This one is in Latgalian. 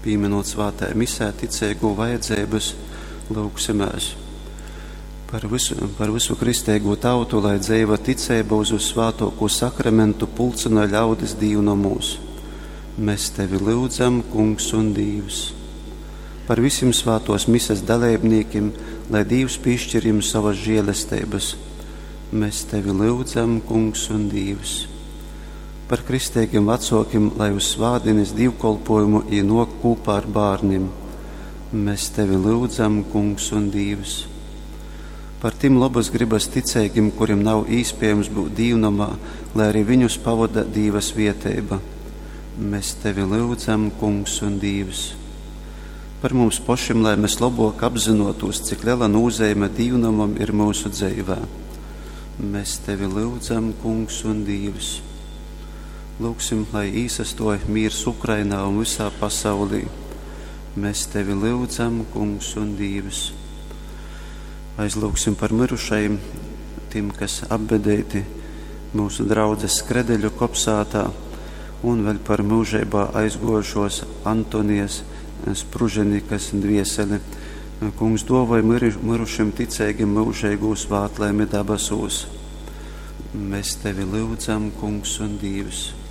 Pīminūt svātajā misē ticeigū vajadzeibys, lyugsimēs par visu, par visu kristeigū tautu, lai dzeiva ticeiba uz vyssvātuokū sakramentu pulcynoj ļaudis dīvnomūs. Mēs tevi lyudzam, Kungs un Dīvs. Par visim svātuos mises daleibnīkim, lai Dīvs pīšķir jim sovas žielesteibys. Mēs tevi lyudzam, Kungs un Dīvs. Par kristeigim vacuokim, lai uz svātdinis dīvkolpuojumu jī nuok kūpā ar bārnim. Mēs tevi lyudzam, Kungs un Dīvs. Par tim lobys grybys ticeigim, kurim nav īspiejams byut dīvnomā, lai arī viņus pavoda Dīva svieteiba. Mēs tevi lyudzam, Kungs un Dīvs. Par mums pošim, lai mēs lobuok apzynuotūs, cik lela nūzeime dīvnomam ir myusu dzeivē. Mēs tevi lyudzam, Kungs un Dīvs. Lūgsim, lai īsastuoj mīrs Ukrainā un vysā pasaulī. Mēs tevi lyudzam, Kungs un Dīvs. Aizlūgsim par myrušajim, tim, kas apbedeiti myusu draudzes Skredeļu kopsātā, un vēļ par myužeibā aizguojušos Antonijas Spruženikas dvieseli. Kungs duovoj myrušim ticeigim myužeigū svātlaimi dabasūs. Mēs tevi lyudzam, Kungs un Dīvs.